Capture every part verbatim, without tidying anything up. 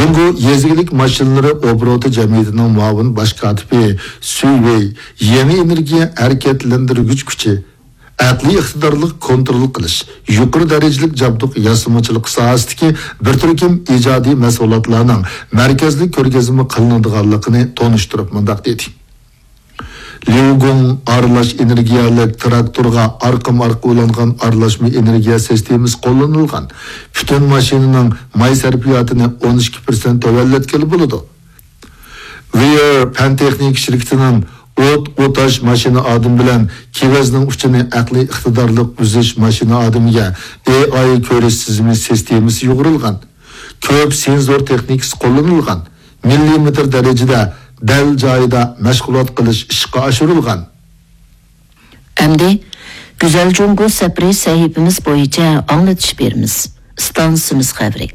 جۇڭگو يېزا ئىگىلىك ماشىنىلىرى ئوبوروتى جەمئىيىتىنىڭ مۇئاۋىن باش كاتىپى سۈي ۋېي يېڭى ئېنېرگىيە ھەرىكەتلەندۈرگۈچ كۈچى، ئەقلىي ئىقتىدارلىق كونترول قىلىش، يۇقىرى دەرىجىلىك جابدۇق ياسىمىچىلىقى ساھەسىدىكى بىر تۈركۈم ئىجادىي مەھسۇلاتلارنىڭ مەركەزلىك كۆرگەزمە قىلىنىدىغانلىقىنى تونۇشتۇرۇپ مۇنداق دېدى: ليۇگۇڭ ئارىلاش ئېنېرگىيەلىك تىراكتورغا ئارقىمۇ ئارقا ئۇلانغان ئارىلاشما ئېنېرگىيە سىستېمىسى قوللىنىلغان. پۈتۈن ماشىنىنىڭ ماي سەرپىياتىنى ئون ئىككى پىرسەنت تۆۋەنلەتكىلى بولىدۇ. ۋېير پەن تېخنىكا شىركىتىنىڭ ئوت ئوتاش ماشىنا ئادىمى بىلەن كېۋەزنىڭ ئۇچىنى ئەقلىي ئىقتىدارلىق ئۈزۈش ماشىنا ئادىمىگە ئېي ئاي كۆرۈش تىزىمى سىستېمىسى يۇغۇرۇلغان. كۆپ سېنزور تېخنىكىسى قوللىنىلغان. مىللىمېتىر دەرىجىدە دەل جايىدا مەشغۇلات قىلىش ئىشقا ئاشۇرۇلغان. ئەمدى گۈزەل جۇڭگو سەپىرى سەھىپىمىز بويىچە ئاڭلىتىش بېرىمىز. ئىستانسىمىز خەۋىرى.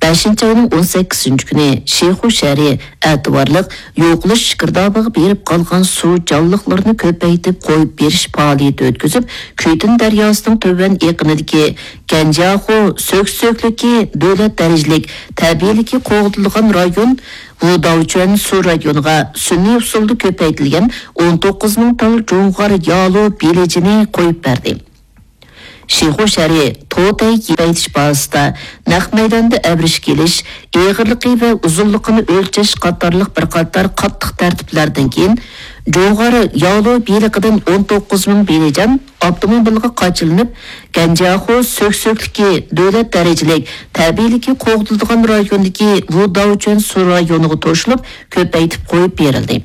بەشىنچى ئاينىڭ ئون سەككىزىنچى كۈنى شىخۇ شەھىرى ئەتىۋارلىق يوقىلىش گىردابىغا بېرىپ قالغان سۇ جانلىقلىرىنى كۆپەيتىپ قويۇپ بېرىش پائالىيىتى ئۆتكۈزۈپ، كۈيتۈن دەرياسىنىڭ تۆۋەن ئېقىنىدىكى گەنجياخۇ سۆكسۆكلۈكى دۆلەت دەرىجىلىك تەبىئىيلىكى قوغدىلىدىغان رايون ۋۇداۋچۈەن سۇ رايونىغا سۈنئىي ئۇسۇلدا كۆپەيتىلگەن ئون توققۇز مىڭ تال جۇڭغار يالۇ بېلىجىنى قويۇپ بەردى. شىخۇ شەھىرى توتەي كۆپەيتىش بازىسىدا نەق مەيداندا ئەۋرىشكە ئېلىش، ئېغىرلىقى ۋە ئۇزۇنلۇقىنى ئۆلچەش قاتارلىق بىر قاتار قاتتىق تەرتىپلەردىن كېيىن، جۇڭغار يالۇ بېلىقىدىن ئون توققۇز مىڭ بېلىجان ئاپتوموبىلغا قاچىلىنىپ، گەنجياخۇ سۆكسۆكلۈكى دۆلەت دەرىجىلىك تەبىئىيلىكى قوغدىلىدىغان رايوندىكى ۋۇداۋچۈەن سۇ رايونىغا توشۇلۇپ، كۆپەيتىپ قويۇپ بېرىلدى.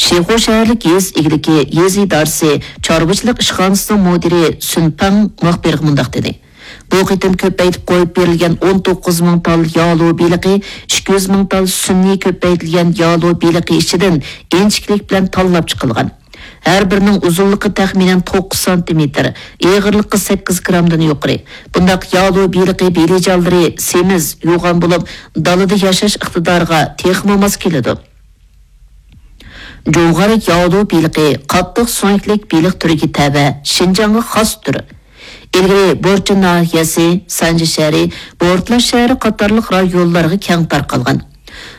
شىخۇ شەھەرلىك يېزا ئىگىلىكى يېزا ئىدارىسى چارۋىچىلىق ئىشخانىسىنىڭ مۇدىرى سۈن پېڭ مۇخبىرغا مۇنداق دېدى: بۇ قېتىم كۆپەيتىپ قويۇپ بېرىلگەن ئون توققۇز مىڭ تال يالۇ بېلىقى، ئىككى يۈز مىڭ تال سۈنئىي كۆپەيتىلگەن يالۇ بېلىقى ئىچىدىن ئىنچىكىلىك بىلەن تاللاپ چىقىلغان. ھەر بىرىنىڭ ئۇزۇنلۇقى تەخمىنەن توققۇز سانتىمېتىر، ئېغىرلىقى سەككىز گرامدىن يۇقىرى. بۇنداق يالۇ بېلىقى بېلىجانلىرى سېمىز، يوغان بولۇپ، دالىدا ياشاش ئىقتىدارىغا تېخىمۇ ماس كېلىدۇ. جۇڭغار ياۋلۇ بېلىقى قاتتىق سۆڭەكلىك بېلىق تۈرىگە تەۋە، شىنجاڭغا خاس تۈر. ئىلگىرى بورچىن ناھىيەسى، سانجى شەھىرى، بورتلا شەھىرى قاتارلىق رايونلارغا كەڭ تارقالغان.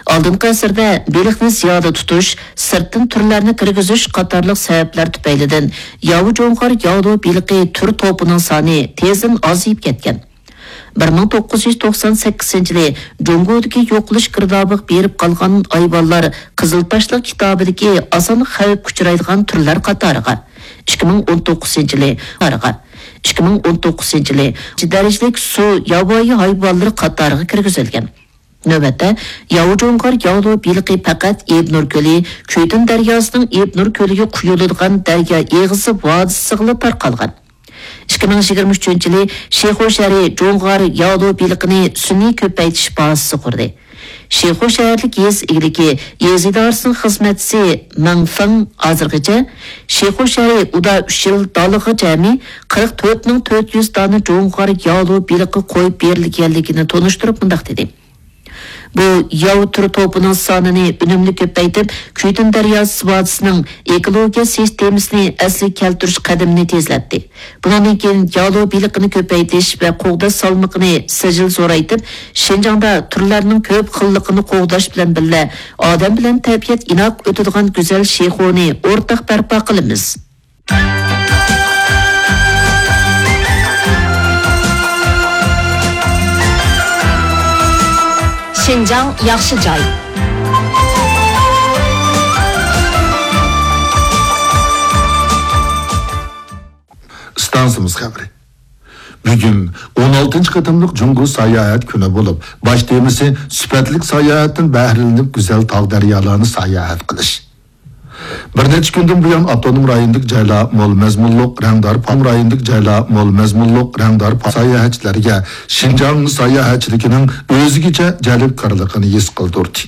ئالدىنقى ئەسىردە بېلىقنى زىيادە تۇتۇش، سىرتتىن تۈرلەرنى كىرگۈزۈش قاتارلىق سەۋەبلەر تۈپەيلىدىن ياۋا جۇڭغار ياۋلۇ بېلىقى تۈر توپىنىڭ سانى تېزدىن ئازىيىپ كەتكەن. بىر مىڭ توققۇز يۈز توقسان سەككىزىنچى يىلى جۇڭگودىكى يوقىلىش گىردابىغا بېرىپ قالغان ھايۋانلار قىزىل تاشلىق كىتابىدىكى ئاسان خەۋپكە ئۇچرايدىغان تۈرلەر قاتارىغا، ئىككى مىڭ ئون توققۇزىنچى يىلى، ئىككى مىڭ ئون توققۇزىنچى يىلى دەرىجىلىك سۇ ياۋايى ھايۋانلىرى قاتارىغا كىرگۈزۈلگەن. نۆۋەتتە، ياۋا جۇڭغار ياۋلۇ بېلىقى پەقەت ئىبنۇر كۆلى، كۈيتۈن دەرياسىنىڭ ئىبنۇر كۆلىگە قۇيۇلىدىغان دەريا ئېغىزى ۋادىسىغىلا تارقالغان. ئىككى مىڭ يىگىرمە ئۈچىنچى يىلى شىخۇ شەھىرى جۇڭغار ياۋلۇ بېلىقىنى سۈنئىي كۆپەيتىش بازىسى قۇردى. شىخۇ شەھەرلىك يېزا ئىگىلىكى يېزا ئىدارىسىنىڭ خىزمەتچىسى مېڭ فېڭ ھازىرغىچە شىخۇ شەھىرى ئۇدا ئۈچ يىل دالىغا جەمئىي قىرىق تۆت مىڭ تۆت يۈز دانە جۇڭغار ياۋلۇ بېلىقى قويۇپ بېرىلگەنلىكىنى تونۇشتۇرۇپ مۇنداق دېدى: بۇ ياۋا تۈر توپىنىڭ سانىنى ئۈنۈملۈك كۆپەيتىپ، كۈيتۈن دەرياسى ۋادىسىنىڭ ئېكولوگىيە سىستېمىسىنى ئەسلىگە كەلتۈرۈش قەدىمىنى تېزلەتتى. بۇنىڭدىن كېيىن يالۇ بېلىقىنى كۆپەيتىش ۋە قوغداش سالمىقىنى سىجىل زورايتىپ، شىنجاڭدا تۈرلەرنىڭ كۆپ خىللىقىنى قوغداش بىلەن بىللە، ئادەم بىلەن تەبىئەت ئىناق ئۆتىدىغان گۈزەل شىخۇنى ئورتاق بەرپا قىلىمىز. شىنجاڭ ياخشى جاي. ئىستانسىمىز خەۋىرى. بۈگۈن ئون ئالتىنچى قېتىملىق جۇڭگو ساياھەت كۈنى بولۇپ، باش تېمىسى سۈپەتلىك ساياھەتتىن بەھرىلىنىپ، گۈزەل تاغ دەريالارنى ساياھەت قىلىش. بىر نەچچە كۈندىن بۇيان، ئاپتونوم رايوندىكى جايلار مول مەزمۇنلۇق، رەڭدار پا-، رايوندىكى جايلار مول مەزمۇنلۇق، رەڭدار پا-، ساياھەتچىلەرگە شىنجاڭ ساياھەتچىلىكىنىڭ ئۆزگىچە جەلپكارلىقىنى ھېس قىلدۇردى.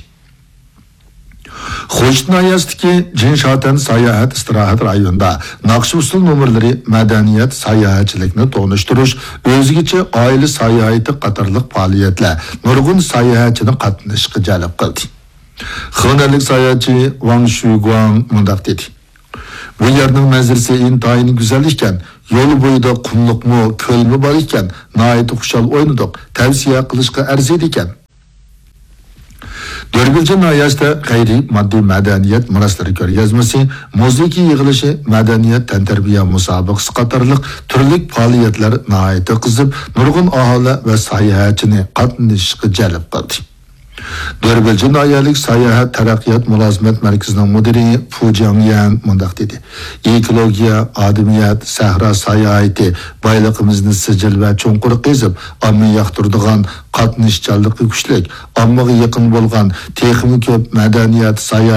خوشۇت ناھىيەسىدىكى جىنشاتەن ساياھەت ئىستىراھەت رايونىدا ناخشا-ئۇسسۇل نومۇرلىرى، مەدەنىيەت، ساياھەتچىلىكنى تونۇشتۇرۇش، ئۆزگىچە ئائىلە ساياھىتى قاتارلىق پائالىيەتلەر نۇرغۇن ساياھەتچىنى قاتنىشىشقا جەلپ قىلدى. خېنەنلىك ساياھەتچى ۋاڭ شۈگۇاڭ مۇنداق دېدى: بۇ يەرنىڭ مەنزىرىسى ئىنتايىن گۈزەل ئىكەن، يول بويىدا قۇملۇقمۇ، كۆلمۇ بار ئىكەن، ناھايىتى خۇشال ئوينىدۇق، تەۋسىيە قىلىشقا ئەرزىيدىكەن. دۆربىلجى ناھىيەسىدە غەيرىي ماددىي مەدەنىيەت مىراسلىرى كۆرگەزمىسى، مۇزىكا يىغىلىشى، مەدەنىيەت تەنتەربىيە مۇسابىقىسى قاتارلىق تۈرلۈك پائالىيەتلەر ناھايىتى قىزىپ، نۇرغۇن ئاھالە ۋە ساياھەتچىنى قاتنىشىشقا جەلپ قىلدى. دۆربىلجى ناھىيەلىك ساياھەت تەرەققىيات مۇلازىمەت مەركىزىنىڭ مۇدىرى فۇ جياڭيەن مۇنداق دېدى: «ئېكولوگىيە، ئادەمىيەت، سەھرا ساياھىتى بايلىقىمىزنى سىجىل ۋە چوڭقۇر قېزىپ، ئامما ياقتۇرىدىغان، قاتنىشچانلىقى كۈچلۈك، ئاممىغا يېقىن بولغان، تېخىمۇ كۆپ مەدەنىيەت، ساياھەت،